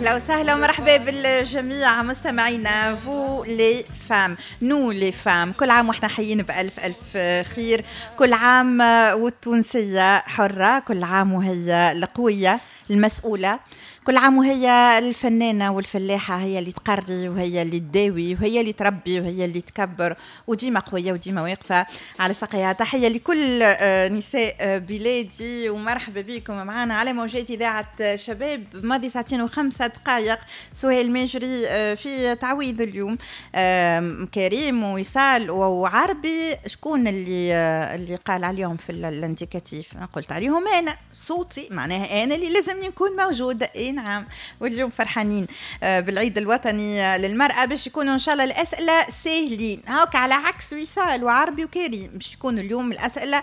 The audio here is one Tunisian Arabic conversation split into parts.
اهلا وسهلا ومرحبا بالجميع مستمعينا. vous les femmes، nous les femmes، كل عام واحنا حيين بالف الف خير، كل عام والتونسيه حره، كل عام وهي القوية المسؤوله، كل عام وهي الفنانة والفلاحه، هي اللي تقري وهي اللي تداوي وهي اللي تربي وهي اللي تكبر، وديما قوية وديما واقفة على ساقيها. تحية لكل نساء بلادي ومرحبا بكم معنا على موجات اذاعة شباب. ماضي ساعتين و5 دقائق، سهيل ماجري في تعويض اليوم، كريم ووصال وعربي. شكون اللي قال عليهم في l'indicatif؟ قلت عليهم انا، صوتي معناها انا اللي لازمني نكون موجوده. اي نعم، واليوم فرحانين بالعيد الوطني للمرأة، باش يكونوا إن شاء الله الأسئلة ساهلين هاك، على عكس وصال وعربي وكريم، باش يكونوا اليوم الأسئلة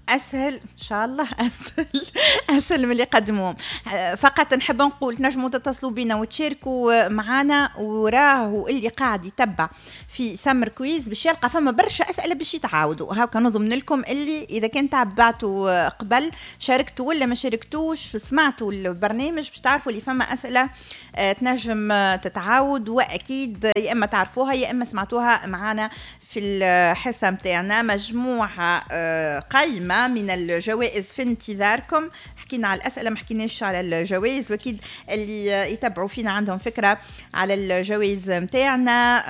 اسهل ان شاء الله، اسهل اسهل من اللي قدموه. فقط نحب نقول تنجموا تتصلوا بنا وتشاركوا معنا، وراه اللي قاعد يتبع في سمر quiz باش يلقى فما برشا اسئلة باش يتعاودوا. هاكا نضمن لكم اللي اذا كان تبعتوا قبل، شاركتوا ولا ما شاركتوش، سمعتوا البرنامج، باش تعرفوا اللي فما اسئلة تنجم تتعاود، واكيد يا اما تعرفوها يا اما سمعتوها معنا في الحصة متاعنا. مجموعة قايمة من الجوائز في انتظاركم. حكينا على الاسئله، ما حكيناش على الجوائز، واكيد اللي يتبعوا فينا عندهم فكرة على الجوائز متاعنا.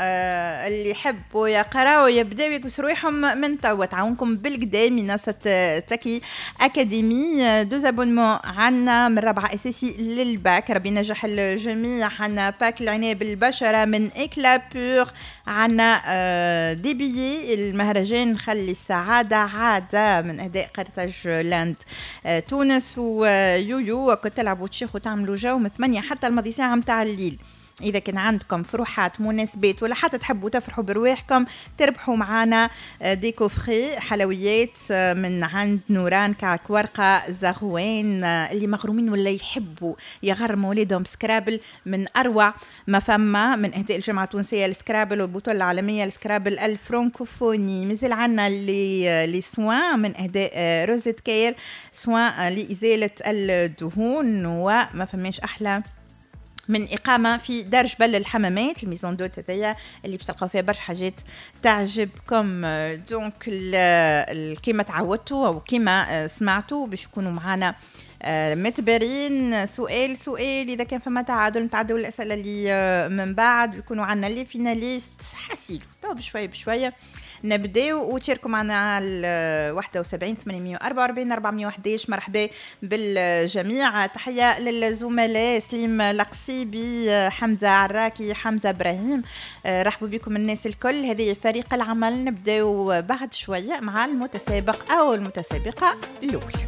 اللي يحبوا يقراوا يبداو يكبسوا روحهم من توا، تعاونكم بالقدا منصة تكي اكاديمي. deux abonnements عنا من رابعه اساسي للباك، ربي ينجح الجميع. عنا pack العناية بالبشره من Éclat Pur، عنا des billets المهرجان خلي السعادة عادة من اهداء قرطاج لاند تونس ويويو. كنت تلعبوا وتشيخوا وتعملوا جو من 8 حتى الماضي ساعة متاع الليل. اذا كان عندكم فروحات، مناسبات، ولا حتى تحبوا تفرحوا برواحكم، تربحوا معنا des coffrets حلويات من عند نوران، كعك ورقة زغوان. اللي مغرومين ولا يحبوا يغرموا ولادهم Scrabble، من اروع ما فما، من اهداء الجامعة التونسية لل Scrabble والبطوله العالمية لل Scrabble الفرنكوفوني. مازال عندنا les soins من اهداء روزيت كير، soin لازالة الدهون. وما فماش احلى من إقامة في دار جبل الحمامات، ال maison d'hôtes هذيا اللي باش تلقاو فيها برشا حاجات تعجبكم. donc كيما تعودتوا أو كيما سمعتوا، باش يكونوا معنا متبرين سؤال سؤال، اذا كان فما تعادل نتعدوا الاسئلة اللي من بعد، ويكونوا عندنا les finalistes. حسيلو تو بشوية بشوية نبداو، وتشاركوا معنا على 71 844 411. مرحبا بالجميع. تحية للزملاء سليم القصيبي، حمزة عراكي، حمزة ابراهيم. رحبوا بكم الناس الكل، هذه فريق العمل. نبداو بعد شوية مع المتسابق او المتسابقه الاول.